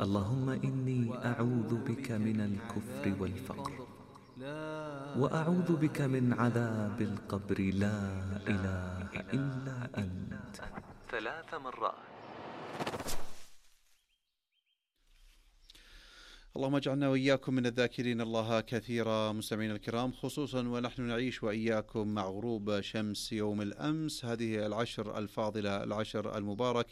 اللهم إني أعوذ بك من الكفر والفقر، وأعوذ بك من عذاب القبر لا إله إلا أنت 3 مرات. اللهم اجعلنا وإياكم من الذاكرين الله كثيرا. مستمعينا الكرام، خصوصا ونحن نعيش وإياكم مع غروب شمس يوم الأمس، هذه العشر الفاضلة، العشر المبارك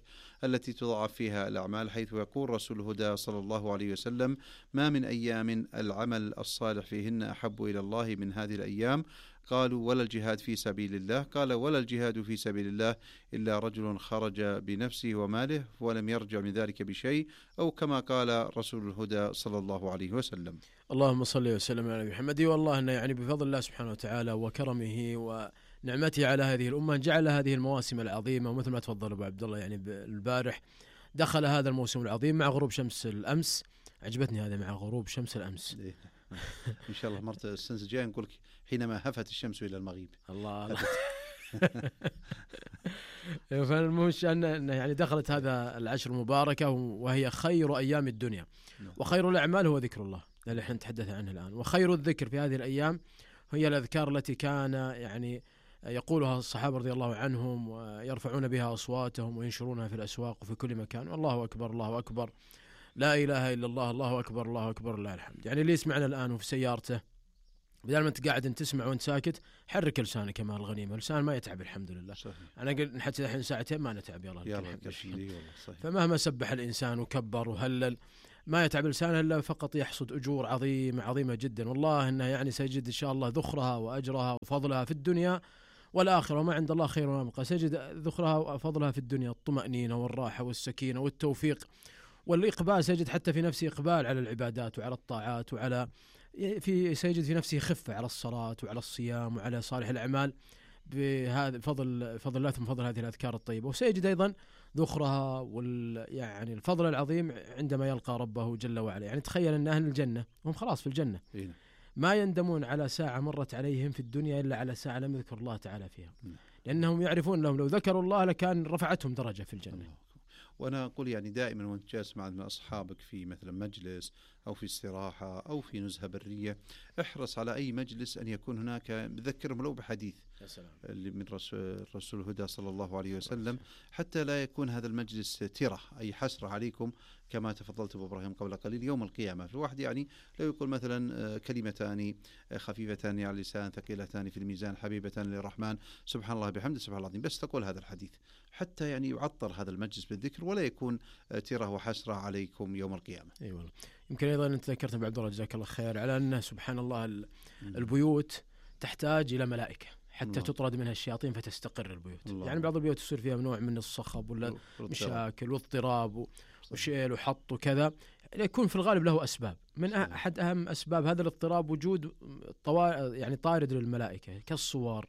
التي تضاعف فيها الأعمال، حيث يقول رسول الهدى صلى الله عليه وسلم: ما من أيام العمل الصالح فيهن أحب إلى الله من هذه الأيام. قالوا: ولا الجهاد في سبيل الله؟ قال: ولا الجهاد في سبيل الله إلا رجل خرج بنفسه وماله ولم يرجع من ذلك بشيء، أو كما قال رسول الهدى صلى الله عليه وسلم. اللهم صل وسلم على محمد. والله أنه يعني بفضل الله سبحانه وتعالى وكرمه ونعمته على هذه الأمة جعل هذه المواسم العظيمة، ومثل ما تفضل أبو عبد الله يعني البارح دخل هذا الموسم العظيم مع غروب شمس الأمس. عجبتني هذا مع غروب شمس الأمس. إن شاء الله مرة السنة الجاية نقول حينما هفت الشمس إلى المغيب. الله فالمهم أن يعني دخلت هذا العشر المباركة وهي خير أيام الدنيا، وخير الأعمال هو ذكر الله الذي احنا نتحدث عنه الآن. وخير الذكر في هذه الأيام هي الأذكار التي كان يعني يقولها الصحابة رضي الله عنهم ويرفعون بها أصواتهم وينشرونها في الأسواق وفي كل مكان: الله أكبر الله أكبر، لا إله إلا الله، الله أكبر الله أكبر، لله الحمد. يعني اللي يسمعنا الآن وفي سيارته، بدل ما أنت قاعد تسمع وأنت ساكت، حرك لسانك مال الغنيمة، اللسان ما يتعب الحمد لله. صحيح. أنا قلت حتى الحين ساعتين ما نتعب، يلا فمهما سبح الإنسان وكبر وهلل ما يتعب لسانه إلا فقط يحصد أجور عظيمة جدا، والله إنه يعني سيجد إن شاء الله ذخرها وأجرها وفضلها في الدنيا والآخرة، وما عند الله خير وأبقى. سيجد ذخرها وفضلها في الدنيا الطمأنينة والراحة والسكينة والتوفيق والإقبال، سيجد حتى في نفسه إقبال على العبادات وعلى الطاعات، وعلى سيجد في نفسه خفة على الصلاة وعلى الصيام وعلى صالح الأعمال بهذا فضل الله ثم فضل هذه الأذكار الطيبة. وسيجد أيضا ذخرها يعني الفضل العظيم عندما يلقى ربه جل وعلا. يعني تخيل أن أهل الجنة هم خلاص في الجنة ما يندمون على ساعة مرت عليهم في الدنيا إلا على ساعة لم يذكر الله تعالى فيها، لأنهم يعرفون لهم لو ذكروا الله لكان رفعتهم درجة في الجنة. وأنا أقول يعني دائما وأنت جالس مع أصحابك في مثلا مجلس أو في استراحة أو في نزهة برية، احرص على أي مجلس أن يكون هناك ذكرهم لو بحديث اللي من الرسول الهدى صلى الله عليه وسلم، حتى لا يكون هذا المجلس ترة أي حسرة عليكم كما تفضلت أبو إبراهيم قبل قليل يوم القيامة. الواحد يعني لو يقول مثلا كلمتان خفيفتان على اللسان ثقيلتان في الميزان حبيبة للرحمن سبحان الله بحمده سبحان الله العظيم، بس تقول هذا الحديث حتى يعني يعطر هذا المجلس بالذكر ولا يكون ترة وحسرة عليكم يوم القيامة. أي والله. يمكن أيضا أنت ذكرت أبو عبد الله جزاك الله خير على أن سبحان الله البيوت تحتاج إلى ملائكة حتى تطرد منها الشياطين فتستقر البيوت. يعني بعض البيوت يصير فيها نوع من الصخب ولا مشاكل واضطراب وشيل وحط وكذا، يكون في الغالب له أسباب. من أحد أهم أسباب هذا الاضطراب وجود يعني طارد للملائكة كالصور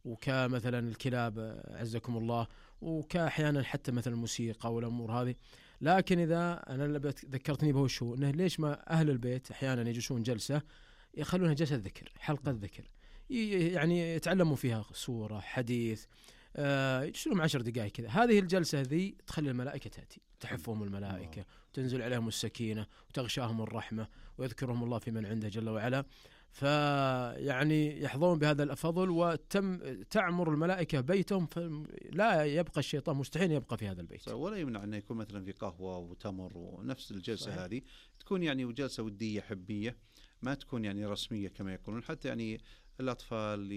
وكمثلا الكلاب عزكم الله، وكأحيانا حتى مثلا الموسيقى والأمور هذه. لكن إذا أنا ذكرتني به شو أنه ليش ما أهل البيت أحيانا يجلسون جلسة يخلونها جلسة ذكر، حلقة ذكر، يعني يتعلموا فيها سورة حديث، يجلسون 10 دقائق كذا. هذه الجلسة ذي تخلي الملائكة تأتي، تحفهم الملائكة وتنزل عليهم السكينة وتغشاهم الرحمة ويذكرهم الله في من عنده جل وعلا، فيعني يحظون بهذا الفضل وتعمر الملائكة بيتهم، فلا يبقى الشيطان مستحيل يبقى في هذا البيت. ولا يمنع أن يكون مثلا في قهوة وتمر ونفس الجلسة صحيح. هذه تكون يعني جلسة ودية حبية، ما تكون يعني رسمية كما يقولون، حتى يعني الأطفال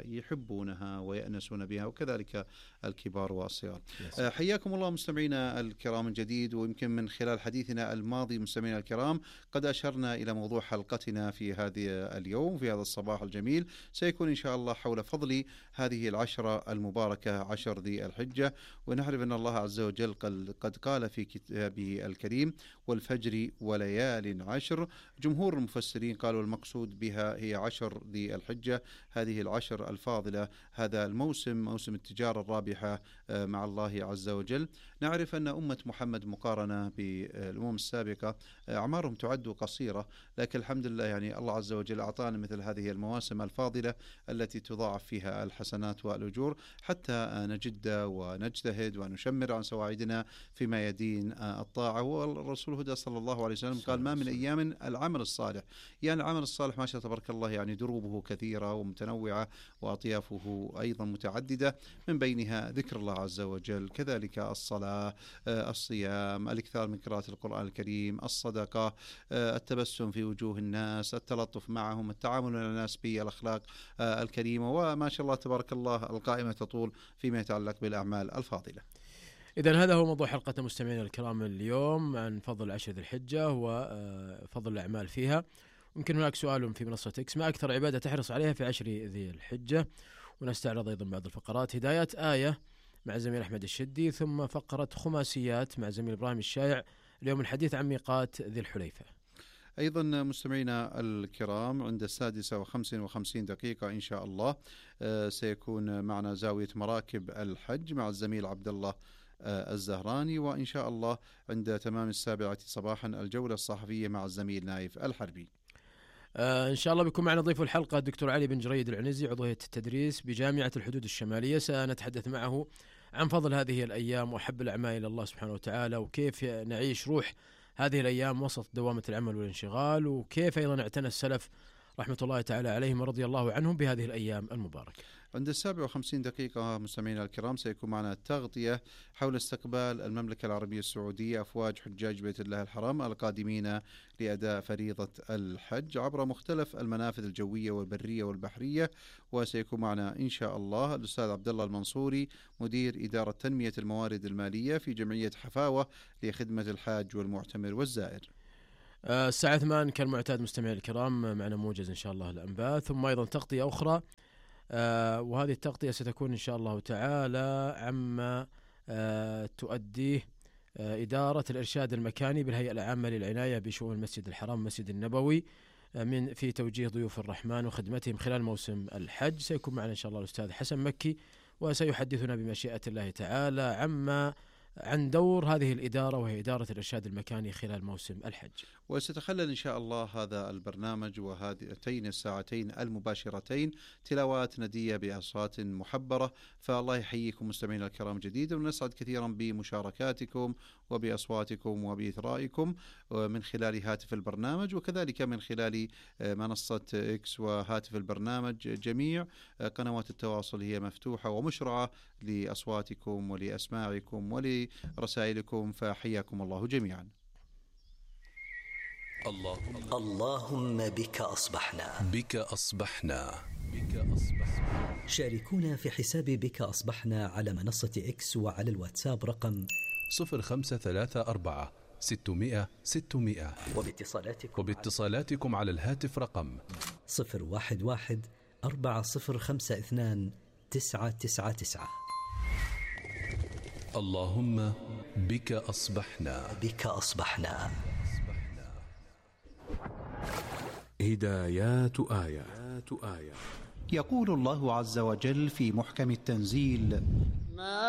يحبونها ويأنسون بها وكذلك الكبار والصغار. حياكم الله مستمعينا الكرام الجديد. ويمكن من خلال حديثنا الماضي مستمعينا الكرام قد أشرنا إلى موضوع حلقتنا في هذه اليوم في هذا الصباح الجميل، سيكون إن شاء الله حول فضل هذه العشرة المباركة 10 ذي الحجة. ونعرف أن الله عز وجل قد قال في كتابه الكريم: والفجر وليال عشر. جمهور المفسرين قالوا المقصود بها هي 10 ذي الحجة، هذه العشر الفاضلة، هذا الموسم موسم التجارة الرابحة مع الله عز وجل. نعرف أن أمة محمد مقارنة بالأمم السابقة أعمارهم تعد قصيرة، لكن الحمد لله يعني الله عز وجل أعطانا مثل هذه المواسم الفاضلة التي تضاعف فيها الحسنات والأجور حتى نجد ونجتهد ونشمر عن سواعدنا فيما يدين الطاعة. والرسول هدى صلى الله عليه وسلم قال: ما من أيام العمل الصالح، يعني العمل الصالح ما شاء تبارك الله يعني دروبه كثيرة ومتنوعة وأطيافه أيضا متعددة، من بينها ذكر الله عز وجل، كذلك الصلاة، الصيام، الإكثار من قراءة القرآن الكريم، الصدقة، التبسم في وجوه الناس، التلطف معهم، التعامل مع الناس بالأخلاق الكريمة، وما شاء الله تبارك الله القائمة تطول فيما يتعلق بالأعمال الفاضلة. إذن هذا هو موضوع حلقة مستمعينا الكرام اليوم عن فضل 10 ذي الحجة وفضل الأعمال فيها. يمكن هناك سؤال في منصة إكس: ما أكثر عبادة تحرص عليها في 10 ذي الحجة؟ ونستعرض أيضا بعض الفقرات: هدايات آية مع زميل أحمد الشدي، ثم فقرة خماسيات مع زميل إبراهيم الشايع، اليوم الحديث عن ميقات ذي الحليفة. أيضا مستمعينا الكرام عند 6:55 إن شاء الله سيكون معنا زاوية مراكب الحج مع الزميل عبد الله الزهراني، وإن شاء الله عند تمام 7 صباحا الجولة الصحفية مع الزميل نايف الحربي. إن شاء الله بيكون معنا ضيف الحلقة الدكتور علي بن جريد العنزي، عضو هيئة التدريس بجامعة الحدود الشمالية. سنتحدث معه عن فضل هذه الأيام وحب الأعمال إلى الله سبحانه وتعالى، وكيف نعيش روح هذه الأيام وسط دوامة العمل والانشغال، وكيف أيضا اعتنى السلف رحمة الله تعالى عليهم ورضي الله عنهم بهذه الأيام المباركة. عند 57 مستمعينا الكرام سيكون معنا تغطية حول استقبال المملكة العربية السعودية أفواج حجاج بيت الله الحرام القادمين لأداء فريضة الحج عبر مختلف المنافذ الجوية والبرية والبحرية. وسيكون معنا إن شاء الله الأستاذ عبد الله المنصوري مدير إدارة تنمية الموارد المالية في جمعية حفاوة لخدمة الحاج والمعتمر والزائر. الساعة 8 كالمعتاد مستمعي الكرام معنا موجز إن شاء الله الأنباء، ثم أيضا تغطية أخرى، وهذه التغطية ستكون إن شاء الله تعالى عما تؤديه إدارة الإرشاد المكاني بالهيئة العامة للعناية بشؤون المسجد الحرام المسجد النبوي في توجيه ضيوف الرحمن وخدمتهم خلال موسم الحج. سيكون معنا إن شاء الله الأستاذ حسن مكي، وسيحدثنا بمشيئة الله تعالى عن دور هذه الإدارة، وهي إدارة الإرشاد المكاني خلال موسم الحج. وستخلل إن شاء الله هذا البرنامج وهاتين الساعتين المباشرتين تلاوات ندية بأصوات محبرة. فالله يحييكم مستمعينا الكرام جديدا، ونسعد كثيرا بمشاركاتكم وبأصواتكم وبإثرائكم من خلال هاتف البرنامج، وكذلك من خلال منصة إكس وهاتف البرنامج. جميع قنوات التواصل هي مفتوحة ومشرعة لأصواتكم ولأسماعكم ولرسائلكم، فحياكم الله جميعا. اللهم بك أصبحنا. شاركونا في حساب بك أصبحنا على منصة إكس وعلى الواتساب رقم 0534 600 600، وباتصالاتكم على الهاتف رقم 011 4052 999. اللهم بك أصبحنا. هدايات آية. يقول الله عز وجل في محكم التنزيل: